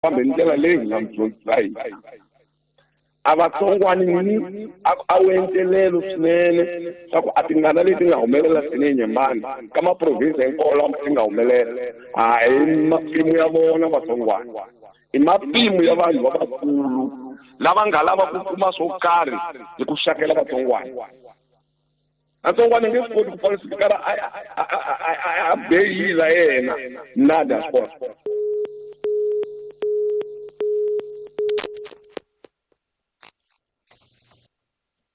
Fambi hi ndlela leyi hi nga mi dyondzisa hi a vatsongwani ni a wu entelelo swinene swa ku a tingana leti nga humelela swinene Nyembani ka maprovinsi hinkwawo lama ti nga humelela a hi matimu ya vona vatsongwana i matimu ya vanhu lavakulu lava nga lava ku kuma swo karhi hi ku xakela vatsongwana vatsongwana nge swi koti ku falsifikara a beyila yena nada swi kota.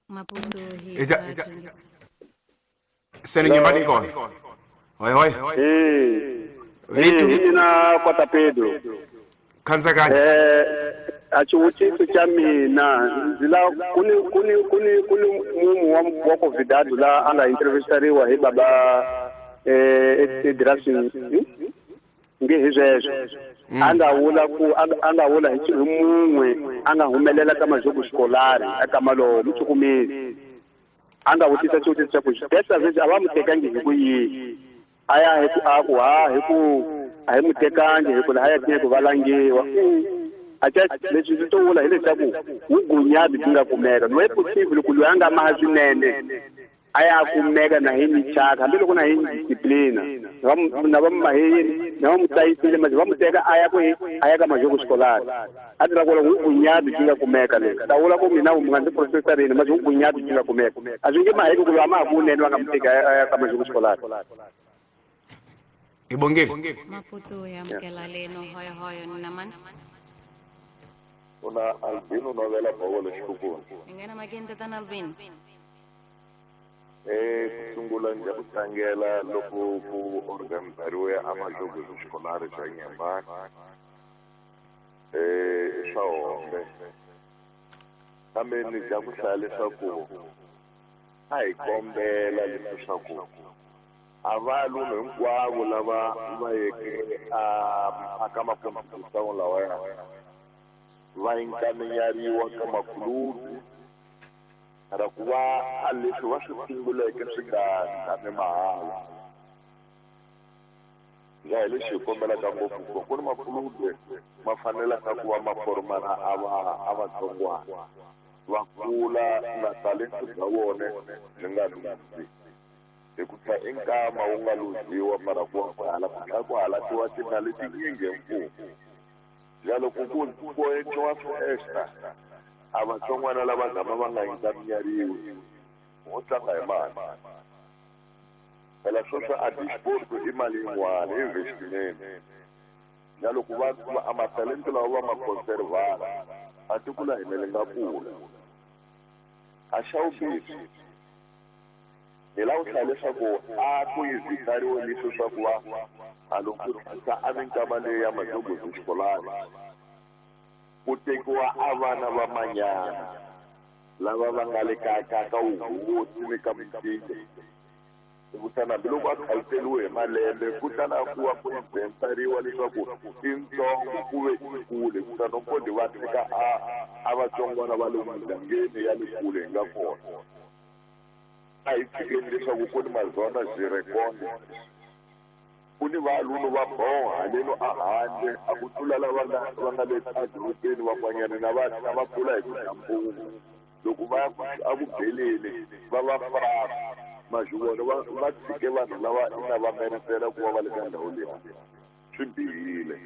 Maputo hi Sele Nyembani kona. Hoi hoi. Hi mina Kwata Pedro. Khandzakani. A xivutiso xa mina ndzi la ku ni ku ni ku ni ku ni munhu wa Covidado la a nga interview-riwa hi baba Edrasin nge hi sweswo a nga vula ku a nga vula hi mun'we a nga humelela ka majogo xikolari eka malowo muchukumisi a nga vutisa xivutiso xa ku testa sweswi a va mu tekangi hi ku yini a ya hi ku a ku ha hi ku a hi mu tekangi hi ku laha ya tinye ku valangiwa a ca leswi swi to vula hileswaku vughunyadi byi nga kumeka loyi possible ku loyi a nga maha swinene a ya kumeka na hi michaka hambiloko na hi disciplina na va maheyini na va mu tlayisile manje va mu teka a ya kwihi a ya ka majogo xikolari a tirha ku vughunyadi byi nga kumeka leswi ta vula ku mina mu nga ndzi profesarini manje vughunyadi byi nga kumeka a swi nge maheki ku loyi a ma ha kunene va nga mu teki a ya ka majogo xikolari. Hi bongile. Maputo ya amukela leno hoyo hoyo ni namani. Una Albino novela Bovolo xikukuni. Hi nghena makini tatana Albino. Ku sungula ndzi ku tlangela loko ku organizariwe a majogo xikolari xa Nyembani. Swa hombe. Kambe ni dya ku hlaya leswaku a hi kombela leswaku a valume hinkwavo lava va yeke a ka makompyuta lawaya va inkaminyariwa ka makulubi ra ku va a leswi va swi sunguleke swi nga tshami mahala. Ya hi lexi hi kombelaka ngopfu ku ni makulubi ma fanelaka ku va ma formana a vatsongwana va kula na talento bya vona byi nga luzi hi ku tlha i nkama wu nga luziwa mara ku va hala ku tlhela ku halatiwa timali tinyingi hi mfumo. Ya loko ku endliwa swi-extra a vatsongwana lava gama va nga inkaminyariwi wo tlanga hi mali phela sweswo a disport i mali yin'wana i investment. Ya loko va a matalento lawa va ma conservana a tiko la hina li nga kula. A xa vumbirhi hi lava ku hlaya leswaku a ku yizitariwe leswi swa ku va a loko ku a minkama leyi ya majogo xikolani ku tekiwa a vana va manyana lava va nga le ka ka wuhosi ni ka mutinde kutani hambiloko a khaliseliwe hi malembe kutani a ku va ku inventariwa leswaku i ntsongo ku ve i kule kutani kodi va teka a vatsongwana va le mugangeni ya le kule hi nga kona. A hi tshikeni leswaku ku ni mazona zirekonde ku ni valunu va boha haleno a handle a ku tlula lava va nga le edorobeni van'wanyana na va va kula hi ku dya mpungu loko va a ku beleni va va frasa mazhuvona va tshike vanhu lava ina va meritela ku va va le ka ndhawu leyi swi bihile.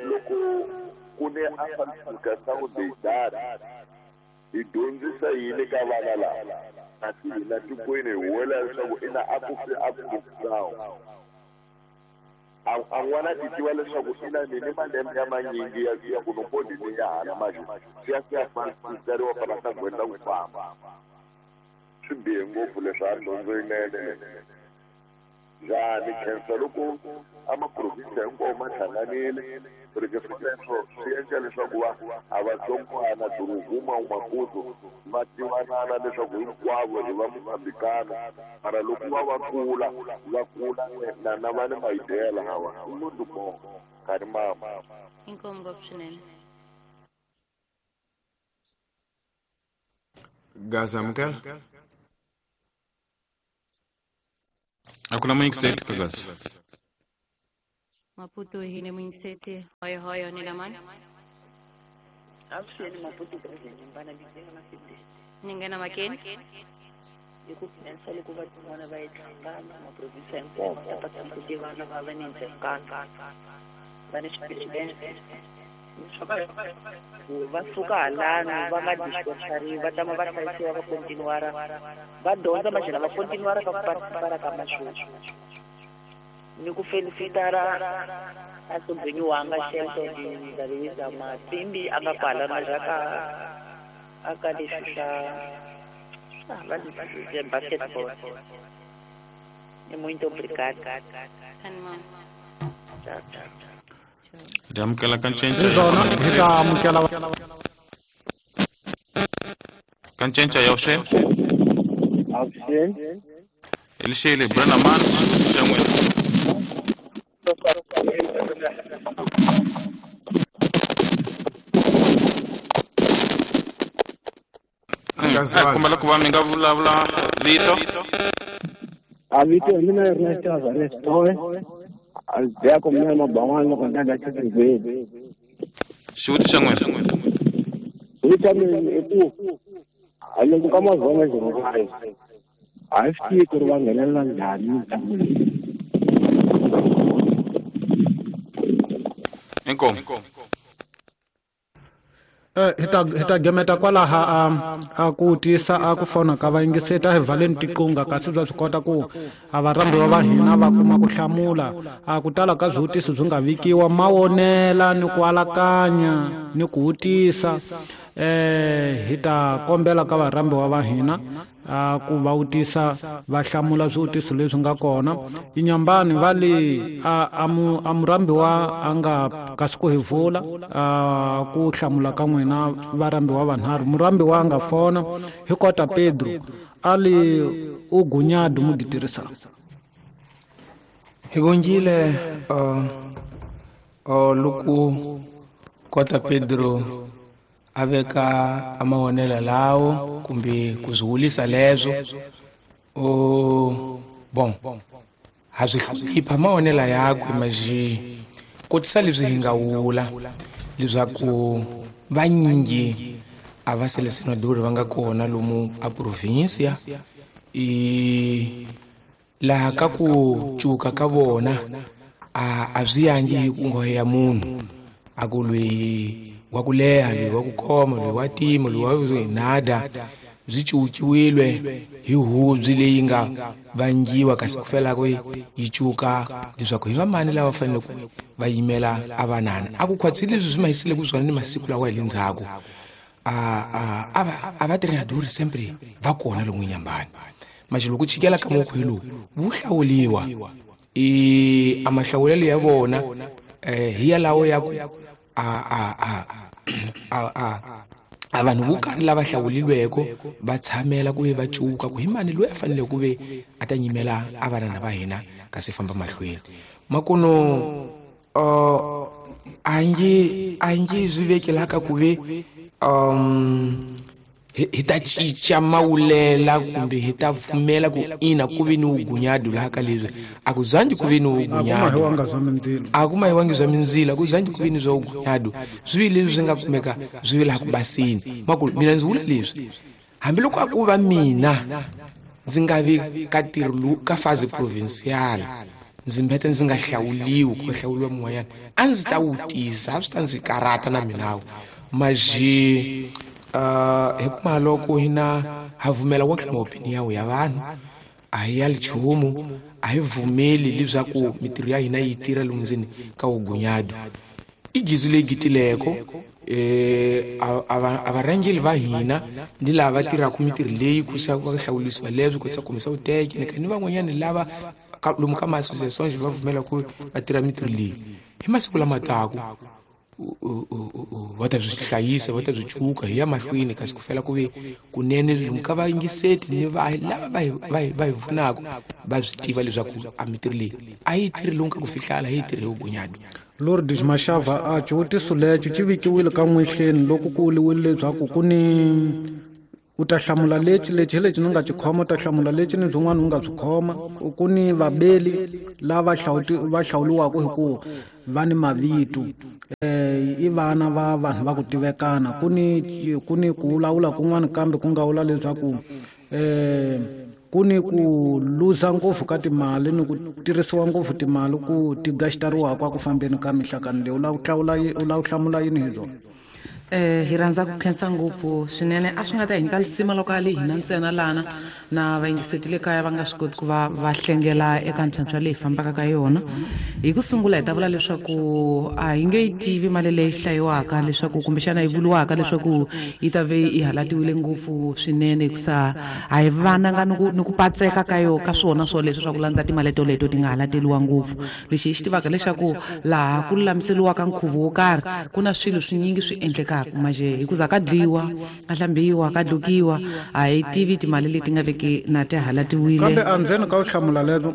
Loko ku ni a falsification hi dyondzisa yini ka vana lava kasi hina tikweni hi huwelela leswaku ina a ku fi a ku a n'wana ti tiva leswaku ina ni ni malembe ya manyingi ya ku nokodi ni ya hala manje swi ya swi ya falsifikariwa fana ta gwenda ku famba. Swi bihe ngopfu leswi a dyondzo yinene njhani khensa loko a maprovinsi hinkwawo ma hlanganile rike sweswo swi endla leswaku va a vatsongwana Doroguma Maputo va tivanana leswaku hinkwavo hi va Mozambikana mara loko va va kula va kula na va ni maideya lawa i munhu mo karhi mama. Inkomu ngopfu swinene. Gaza amukela. A ku na muyingiseri ka Gaza. Maputo hine muyingiseti hoyo hoyo ni lamani. Avuxeni Maputo president Mbana Bizenga Masibisi. Ni nghena makeni. Hi ku khensa loko va tin'wana va yi tlhangana maprovinsi hinkwawo va ta ku tivana va va ni ndzengaka va ni xipresidente va suka halano va nga dispersariwi va tama va hlayisiwa va kontinuara va dyondza maxela va kontinuara ka ku participara ka masweswi ni ku felicitara a sobhenyiwanga Shelton Ndabeza Matsimbi a nga kwala majaka a ka leswi swa basketball. Muito obrigado. Amukela ka ncenca hi ta amukela ka ncenca ya vuxeni. Elixele Brenda Man xa n'wina. Kombela ku va mi nga vulavula vito. A vito mina Ernest Azarestove. A ndzi ku mina maban'wana loko ndzi nga xivheli. Xivutiso xa n'wina. Xivutiso xa mina i ku a loko ka mazonga 05 a swi tivi ku ri va nghenelela njhani mitlangu leyi. Inkomu. Hi ta gemeta kwalaha a ku tisa a ku fona ka vayingiseti a hi valeni tiqunga kasi bya swi kota ku a varhambiwa va hina va kuma ku hlamula a ku tala ka swivutiso swi nga vikiwa mawonela ni ku alakanya ni ku vutisa hi ta kombela ka varhambiwa va hina a ku va vutisa va hlamula swivutiso leswi nga kona. Inyambani va le a murhambiwa a nga kasi ku hi vula ku hlamula ka n'wina varhambiwa vanharhu. Murhambiwa a nga fona hi kota Pedro a le u gunyadu mugitirisa. Hi vongile loko kota Pedro a veka a mavonelo lawo kumbe ku swi wulisa leswo bon ha swi hlonipha mavonelo yakwe maxi kotisa leswi hi nga wula leswaku vanyingi a va selesenadori va nga kona lomu a provinsia i laha ka ku cuka ka vona a swi yangi hi ku nghohe ya munhu a ku lweyi wa ku leha loyi wa ku khoma loyi wa tima loyi wa nada byi cukiwile hi hubyi leyi nga vangiwa kasi ku felako yi cuka leswaku hi vamani lava fanele ku va yimela a vanana a ku khwatsile leswi swi mahisile ku swona ni masiku lawa hi le ndzhaku a va treinador sempre va kona lomu Nyambani maxi loko chikela ka mukhu lowu wu hlawuliwa i a mahlawulelo ya vona hi yalawo ya ku a vanhu vo karhi lava hlawulilweko va tshamela ku ve va cuka ku hi mani loyi a fanele ku ve a ta nyimela a vanana va hina kasi famba mahlweni makuno a nge swi vekelaka ku ve hi ta cinca mawulela kumbe hi ta pfumela ku ina ku ve ni wugunyadu laha ka leswi a ku zangi ku ve ni wugunyadu a ku mahiwangi swa mindzilo a ku zangi ku ve ni swa wugunyadu swi vi leswi swi nga kumeka swi vi laha ku basini maku mina ndzi vula leswi hambiloko a ku va mina ndzi nga vi ka ntirho ka fazi provincial ndzi mbeta ndzi nga hlawuliwi ku hlawuliwa mun'wanyana a ndzi ta wutisa a swi ta ndzi karata na minawu maji hi kuma loko hina ha vumela wonke maopinion ya vanhu a hi ya nchumu a hi vumeli leswaku mitirho ya hina yi tirha lomu ndzeni ka wugunyadu i gizi leyi gitileko a varhangeli va hina ni lava tirhaka mitirho leyi ku sa va hlawulisiwa leswi ku sa kumisa vuteke ni van'wanyani lava lomu ka ma-association va pfumela ku va tirha mitirho leyi hi masiku lama taku va ta byi hlayisa va ta byi cuka hi ya mahlweni kasi ku fela ku ve kunene lomu ka vayingiseti ni va lava va hi pfunaka va swi tiva leswaku a mitirho leyi a yi tirhi lomu ka ku fihlala yi tirhi wugunyadu. Lourdes Mashava a xivutiso lexo xi vikiwile ka n'wexeni loko ku vuriwile leswaku ku ni U ta hlamula lexi lexi hi lexi ni nga xi khoma, u ta hlamula lexi ni byin'wana u nga byi khoma. Ku ni vabeli lava va hlawuliwaka hi ku va ni mavito, i vana va vanhu va ku tivekana. Ku ni ku vulavula kun'wana kambe ku nga vula leswaku ku ni ku luza ngopfu ka timali ni ku tirhisiwa ngopfu timali ku ti gaxitariwaka ku fambeni ka mihlakano leyi. U lava ku hlamula yini hi byona? Hi rhandza ku khensa ngopfu swinene. A swi nga ta hi nyika lisima loko a le hina ntsena lana na vayingiseti le kaya va nga swi koti ku va va hlengela eka ntlhantlha leyi fambaka ka yona. Hi ku sungula hi ta vula leswaku a hi nge yi tivi mali leyi hlayiwaka leswaku kumbexana yi vuriwaka leswaku yi ta ve yi halatiwile ngopfu swinene, hikusa a hi vananga ni ku patseka ka yo ka swona swoleswo swa ku landza timali toleto ti nga halateliwa ngopfu. Lexi hi xi tivaka leswaku laha ku lulamiseriwaka nkhuvo wo karhi ku na swilo swinyingi swi endlekaka maje hi ku za ka dliwa, ka hlambiwa, ka dlukiwa, a hi tivi timali leti nga veki na ti halatiwile. Kambe andzeni ka u hlamula lero,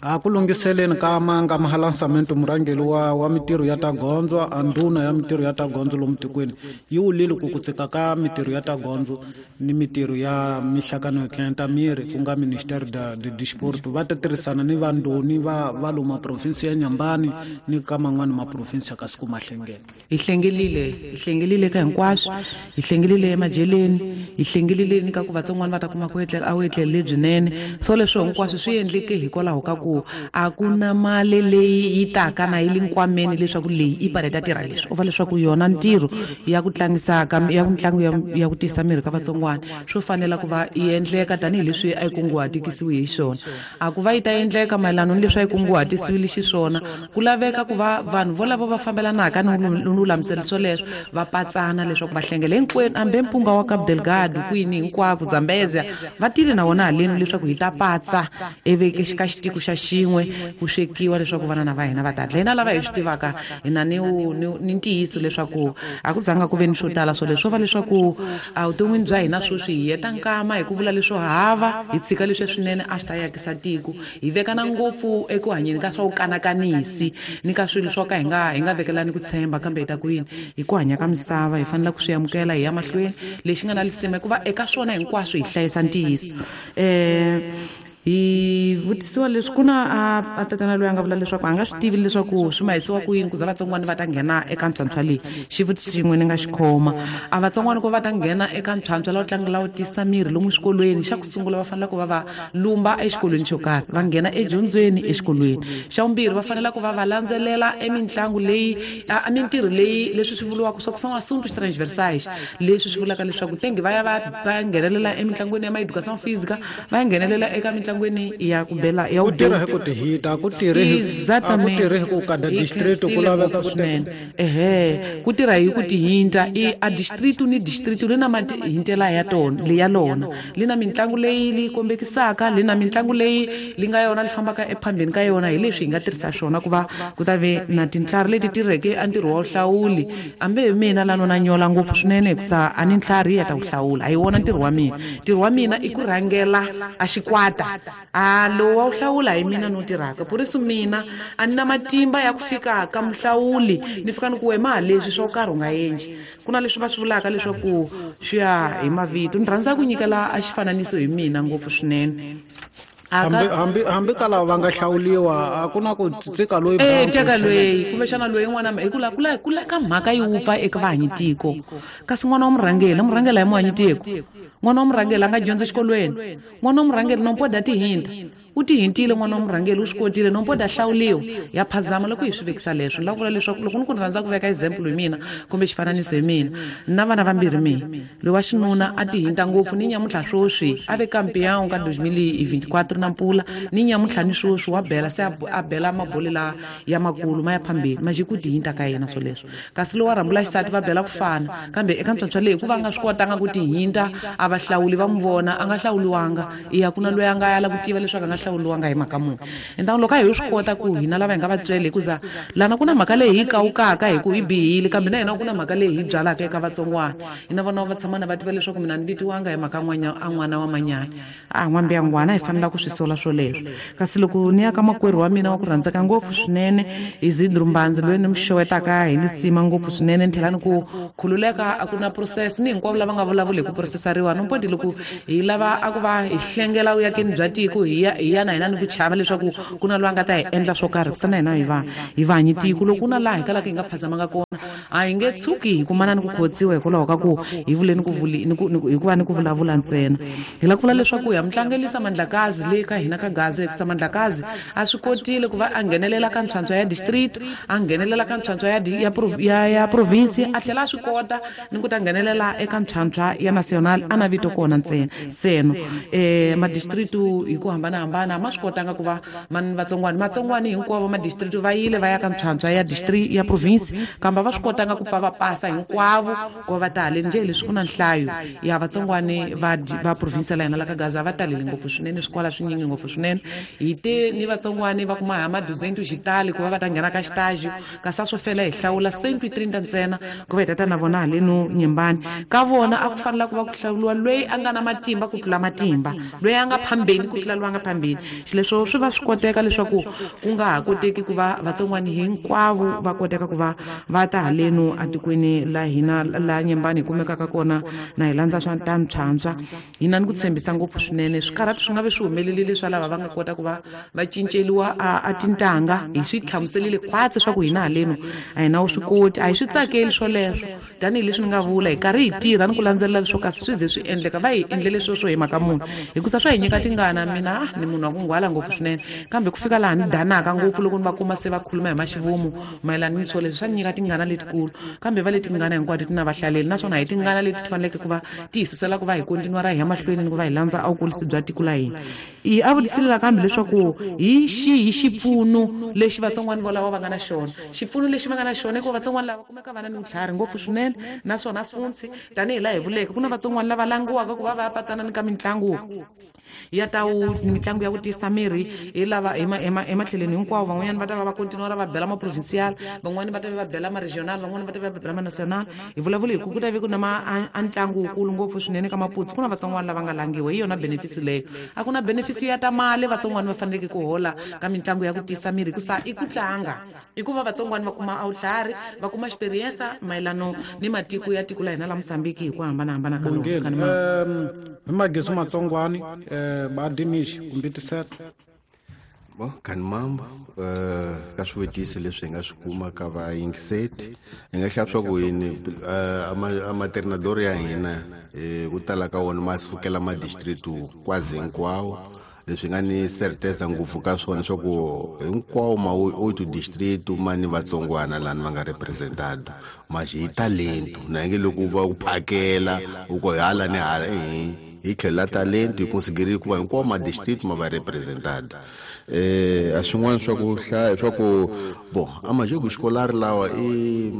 a ku lunghiseleni ka manga mahalansamento murhangeri wa mitirho ya ta gondzo, a ndhuna ya mitirho ya ta gondzo lomu tikweni yi wulile ku tsika ka mitirho ya ta gondzo ni mitirho ya mihlakano yo tlenta miri, ku nga Ministério de Desporto, va ta tirhisana ni vandoni va lomu maprovinsi ya Nyambani ni ka man'wani maprovinsi ya kasi ku mahlengela. Hi hlengelile ka hinkwaswo, hi hlengelile emajeleni, hi hlengelile ni ka ku vatsongwana va ta kuma ku etlela a wu etlele lebyinene. So leswo hinkwaswo swi endleke hikwalaho ka ku a ku na mali leyi yi taka na yi le nkwameni leswaku leyi i pale ta tirha leswi. U va leswaku yona ntirho ya ku tlangisa ka ya mitlangu ya ku tisa miri ka vatsongwana swo fanela ku va yi endleka tanihileswi a yi kunguhatikisiwe hi xona. A ku va yi ta endleka mayelana ni leswi a yi kunguhatisiwile xiswona, ku laveka ku va vanhu volavo va fambelanaka ni lulamiselo swoleswo va patsana leswaku va hlengela hinkwenu, hambi mpunga wa Cabo Delgado kwini hinkwako Zambezia va tile na wona haleni leswaku hi ta patsa eveke ka xitiko xa xin'we ku swekiwa leswaku vana na va hina va ta dla. Hina lava hi swi tivaka hina ni ntiyiso leswaku a ku zanga ku ve ni swo tala swoleswo, va leswaku evuton'wini bya hina sweswi hi heta nkama hi ku vula leswo hava, hi tshika leswi swinene a swi ta yakisa tiko, hi vekana ngopfu eku hanyeni ka swa ku kanakanisi ni ka swilo swo ka hi nga vekelani ku tshemba, kambe hi ta ku yini hi ku hanya ka misava hi fanele ku swi amukela hi ya mahlweni. Lexi nga na lisima hikuva eka swona hinkwaswo hi hlayisa ntiyiso. Hi vutisiwa leswi ku na a tatana loyi a nga vula leswaku a nga swi tivi leswaku swi mahisiwa ku yini ku za vatsongwana va ta nghena eka ntlhantlha leyi. Xivutiso xin'we ni nga xi khoma, a vatsongwana ku va ta nghena eka ntlhantlha lawu tlanga lawu tisa miri lomu swikolweni, xa ku sungula va fanele ku va va lumba exikolweni xo karhi, va nghena edyondzweni exikolweni. Xa vumbirhi va fanele ku va va landzelela emitlangu leyi a mintirho leyi leswi swi vuriwaka swa ku são assuntos transversais, leswi swi vulaka leswaku tenge va ya va nghenelela emitlangwini ya ma-educação física, va ya nghenelela eka mitlangu ya ku bela ya ku tirha hi ku tihita, ku tirha hi ku kada distrito ku laveka ku swinene. Ehe, ku tirha hi ku tihinta i a distrito ni distrito li na mahintela ya tona ya lona, li na mitlangu leyi li kombekisaka, li na mitlangu leyi li nga yona li fambaka ephambeni ka yona. Hi leswi hi nga tirhisa swona ku va ku ta ve na tintlhari leti tirheke a ntirho wa vuhlawuli. Hambi hi mina lano na nyola ngopfu swinene hikusa a ni ntlhari ya ta ku hlawula, a hi wona ntirho wa mina. Ntirho wa mina i ku rhangela a xikwata, a lowu wa wu hlawula hi mina no tirhaka. Por isso mina a ni na matimba ya ku fika ka muhlawuli ni fika ni ku wema leswi swo karhi u nga endli. Ku na leswi va swi vulaka leswaku swi ya hi mavito. Ni rhandza ku nyikela a xifananiso hi mina ngopfu swinene. Hambi ka lava va nga hlawuliwa a ku na ku tsika loyi teka loyi kumbexana loyi n'wana hi ku la ka mhaka yi wupfa eka vahanyi tiko, kasi n'wana wa murhangeri murhangeri a hi muhanyi tiko, n'wana wa murhangeri a nga dyondza exikolweni, n'wana wa murhangeri nompoda tihinta u tihintile, n'wana wa murhangeri u swi kotile nompoda hlawuliwa ya phazama. Loko hi swi vekisa leswo ni lava ku vula leswaku loko ni ku ni rhandza ku veka example hi mina kumbe xifananiso hi mina, na vana vambirhi mina, loyi wa xinuna a tihinta ngopfu ni nyamuntlha swoswi a ve campeão ka 2024 na mpula, ni nyamuntlha ni swoswi wa bela se a bela mabole la ya makulu ma ya phambeni maje ku tihinta ka yena swoleswo. Kasi lowa rhambula xisati va bela ku fana, kambe eka ntlhantlha leyi ku va nga swi kotanga ku tihinta a va hlawuli va n'wi vona a nga hlawuliwanga, iya ku na loyi a nga yala ku tiva leswaku a nga hlawuliwanga hi mhaka muni. Entaku loko a hi swi kota ku hina lava hi nga vatswele hikuza lana ku na mhaka leyi hi kawukaka hi ku yi bihile, kambe na hina ku na mhaka leyi hi byalaka eka vatsongwana. Hina vona va tshama na va tiva leswaku mina ni vitiwanga hi mhaka a n'wana wa manyanya. A n'wambiyangwana hi fanela ku swi sola swoleswo. Kasi loko ni ya ka makwerhu wa mina wa ku rhandzeka ngopfu swinene Isidro Mbanzi, loyi ni mi xewetaka hi lisima ngopfu swinene, ni tlhela ni ku khululeka a ku na process ni hinkwavo lava nga vulavuli hi ku processariwa. No mpoti loko hi lava a ku va hi hlengela vuyakeni bya tiko hi ya na hina ni ku chava leswaku ku na loyi a nga ta hi endla swo karhi, kusa na hina hi va hanyi tiko. Loko ku na laha hi kalaka hi nga phazamanga kona, a hi nge tshuki hi kumana ni ku khotsiwa hikwalaho ka ku hi vule ni ku hikuva ni ku vulavula ntsena. Hi lava ku vula leswaku ya mutlangelisa Mandlakazi le ka hina ka Gaza, hikusa Mandlakazi a swi kotile ku va a nghenelela ka ntlhantlho ya district, a nghenelela ka ntlhantlho ya province, a tlhela a swi kota ni ku ta nghenelela eka ntlhantlho ya national, a na vito kona ntsena. Seno madistrict hi ku hambanahambana ma swi kotanga ku va matsongwani hinkwavo madistrict va yile va ya ka ntlhantlho ya district ya province, kambe va swi kotanga ku pa va pasa hinkwavo ku va ta haleni. Njhe leswi ku na nhlayo ya vatsongwani va province la hina la ka Gaza va talele ngopfu swinene, swikwala swinyingi ngopfu swinene. Hi te ni vatsongwani va kuma ha maduzentu xitali ku va va ta nghena ka xitaji, kasi a swo fela hi hlawula 130 ntsena ku va hi tata na vona haleno Nyembani. Ka vona a ku fanela ku va ku hlawuriwa loyi a nga na matimba ku tlula matimba, loyi a nga phambeni ku tlula loyi a nga phambeni. Xileswo swi va swi koteka leswaku ku nga ha koteki ku va vatsongwani hinkwavo va koteka ku va va ta haleno atikweni la hina la Nyembani hi kumekaka kona na hi landza swa ta ntlhantlha. Hina ni ku tshembisa ngopfu swinene swikarhati swi nga ve swi humelelile swa lava va nga kota ku va va cinceliwa a tintanga. Hi swi hlamuselile khwatsi swa ku hina haleno a hi na wu swi koti, a hi swi tsakeli swoleswo. Tanihileswi ni nga vula hi karhi hi tirha ni ku landzelela leswo kasi swi ze swi endleka, va hi endlele sweswo hi mhaka munhu, hikusa swa hi nyika tingana. Mina ni munhu wa ku nghwala ngopfu swinene, kambe ku fika laha ni danaka ngopfu loko ni va kuma se va khuluma hi maxivomu mayelana ni swoleswo, swa ni nyika tingana letikulu. Kambe va le tingana hinkwato ti na vahlaleli, naswona hi tingana leti ti faneleke ku va ti hi susela ku va hi kontinuara hi ya mahlweni ni ku va hi landza a vukurisi bya tiko la hina. Hi a vutisile kambe leswaku hi xihi xipfuno lexi vatsongwani volavo va nga na xona. Xipfuno lexi va nga na xona i ku vatsongwani lava kumeka va na ni vutlhari ngopfu swinene, naswona funtsi tanihi laha hi vuleke ku na vatsongwani lava langiwaka ku va va patana ni ka mitlangu ya tawu, mitlangu ya ku tiyisa miri hi lava ematlhelweni hinkwawo. Van'wanyana va ta va va kontinuara va bela ma-provincial, van'wani va ta va bela ma-regional, van'wani va ta va bela ma-national. Hi vulavula hi ku ku ta ve ku na a ntlangu wukulu ngopfu swinene ka Maputsu, ku na vatsongwani lava nga langiwa. Hi yona benefits leyo. A ku na benefits ya ta mali vatsongwani va faneleke ku hola ka mitlangu ya ku tiyisa miri, hikusa i ku tlanga, i ku va vatsongwani va kuma a vutlhari, va kuma experience mayelano ni matiko ya tiko la hina la Mozambique hi ku hambanahambana ka lona. Hi magezi matsongwani badimishi kumbe tiseto bo kanimambo ka swivutiso leswi hi nga swi kuma ka vayingiseti, hi nga xava swa ku yini amaternador ya hina ku tala ka wona ma sukela madistrict kwazi hinkwawo. Leswi nga ni certeza ngopfu ka swona swa ku hinkwawo ma oito district ma ni vatsongwana lani va nga representado, maxi hi talento na nge loko va ku phakela u ko hala ni hala hi tlhela talento hi consider ku va hinkwawo ma district ma va representado. A swin'wana swa ku hlaya swa ku bo a majogo xikolari lawa i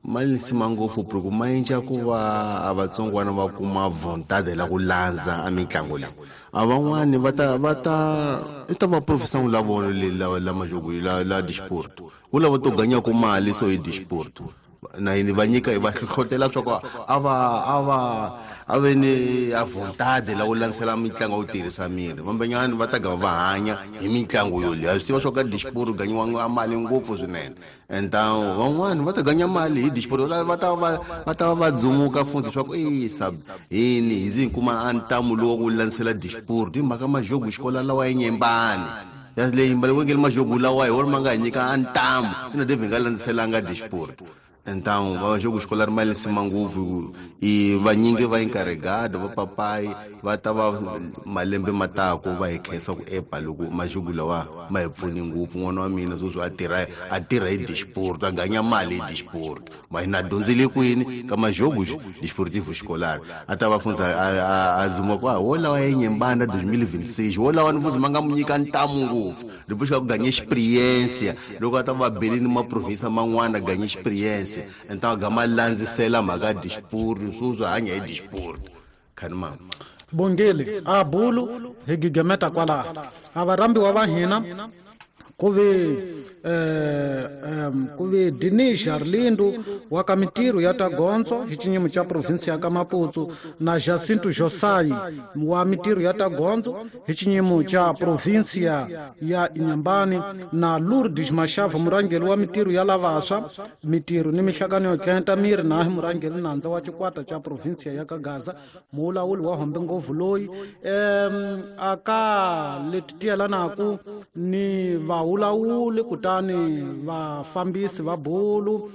ma lisima ngopfu ku ma endla ku va a vatsongwana va kuma vontade la ku landza a mitlangu leyi. A van'wani va ta i ta va professor la vona la majogo la disport ku lava to ganya ku mali so hi disport na yini va nyika hi va hlohlotela swa ku a ve ni a vontade la ku landzela mitlangu ya ku tirhisa miri. Vambenyani va ta gava va hanya hi mitlangu yoleyo. A swi tiva swa ka disport ganyiwa a mali ngopfu swinene. Então van'wani va ta ganya mali hi disport, va ta va dzumuka futhi swa ku sab yini hi zi kuma a ntamu lowu ku landzela disport hi mhaka majogo xikola lawa ya Nyembani. Ya leyi mbali majogo lawa hi wona ma nga hi nyika a ntamu ina David nga landzelanga disport. Então va jogo escolar mali sima ngopfu i vanyingi va encarregado va papai va ta va malembe matako va hi khensa ku epa loko majogo lawa ma hi pfuni ngopfu. N'wana wa mina sweswi a tirha hi disport, a ganya mali hi disport. Ma hina dyondzile kwini ka majogo disportivo escolar a ta va fundza a dzuma ku wolawa ya Nyembani 2026 wolawa ni mfuzi ma nga mu nyika ntamu ngopfu loko xi ku ganya experience loko a ta va belini ma province man'wana ganya experience. Então gama landzisela mhaka disport sweswi hanya hi disport. Khanimama. Bongele a bulu hi gigemeta kwalaha a varhambiwa va hina ku ve Dinisha Arlindo wa ka mitirho ya ta gondzo hi xinyimo xa provinsi ya ka Maputo na Jacinto Josai wa mitirho ya ta gondzo hi xinyimo xa provinsi ya Inhambane na Lourdes Mashava murhangeri wa mitirho ya lavaswa mitirho ni mihlangano yo tlenta miri na hi murhangeri nandza wa xikwata xa provinsi ya ka Gaza mulawuli wa hombe ngopfu loyi aka leti tiyelanaku ni vaulawuli kutani vafambisi va bulu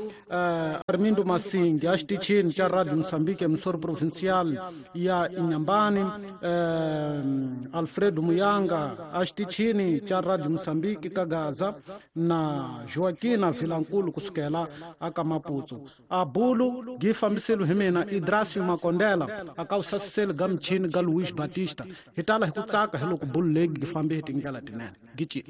Armindo Masingi a xitichini xa Radio Mozambique emisori provincial ya Inhambane Alfredo Muyanga a xitichini xa Radio Mozambique ka Gaza na Joaquina Vilankulu kusukela aka Maputo a bulu gi fambiselo hi mina Idrasio Makondela aka usasiseli ga michini ga Luis Batista hi tala hi ku tsaka hi loko bulu leyi gi fambe hi tindlela tinene gici.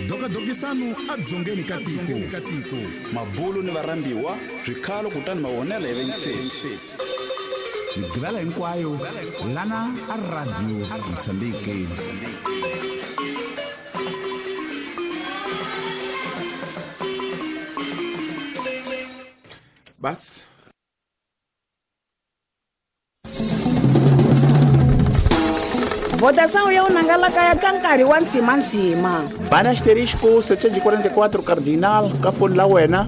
Dokadokisano adzongeni ka tiko mabulu ni varhambiwa swikhalo kutani mavonelo ya vengiseti migivela hinkwayo lana a Radio Mozambique. Bas Votação ya unangalaka ya kankari wa ntsima-ntsima. Bana asterisco 744 cardinal ka foni la wena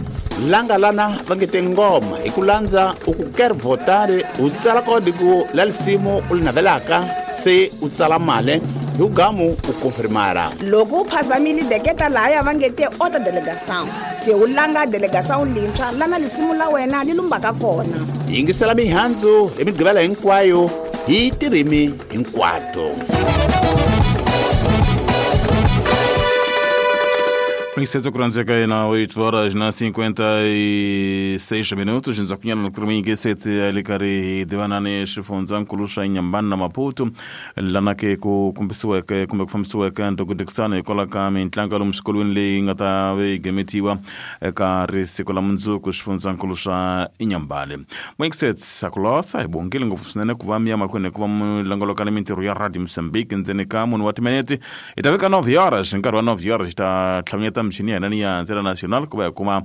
langa lana va nge te ngoma hi ku landza u ku ker votare u tsala kodiku la lisimu u li navelaka se u tsala male hi ugamu u konfirmara. Loko u phazamile deketa lahaya va nge te ota delegação se u langa delegação lintshwa lana lisimu la wena li lumbaka kona. Yingisela mihandzu hi migqivela hinkwayo hi tirimi hinkwato. Mixeto kuranzeka na 8 horas na 56 minutos nzakunyana na kurmingi sete alikari divanane xifundzankulu xa Inhambane na Maputo lana ke ku kumbisiweke kumbe ku fambisiweke ndokodekisano hikwalaho ka mintlangu ya lomu swikolweni leyi nga ta ve yi gemetiwa eka risiku la mundzuku xifundzankulu xa Inhambane. Mixet sakulosa hi bongile ngopfu swinene ku va mi ya mahlweni ku va mi longoloka ni mintirho ya Radio Mozambique ndzeni ka munhu wa timinete hi ta veka 9 horas nkarhi wa 9 horas hi ta tlhamanyeta michini ya hina ni ya ntsena national ku va hi kuma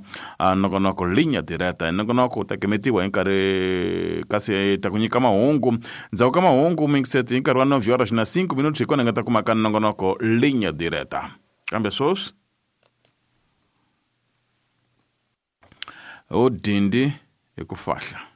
nongonoko linya direta nongonoko u ta gemetiwa hi nkarhi kasi ta ku nyika mahungu ndzhaku ka mahungu mixet hi nkarhi wa 9 horas na 5 minutos hi kona hi nga ta kuma ka nongonoko linya direta kambe sweswi o dindi hi ku fahla.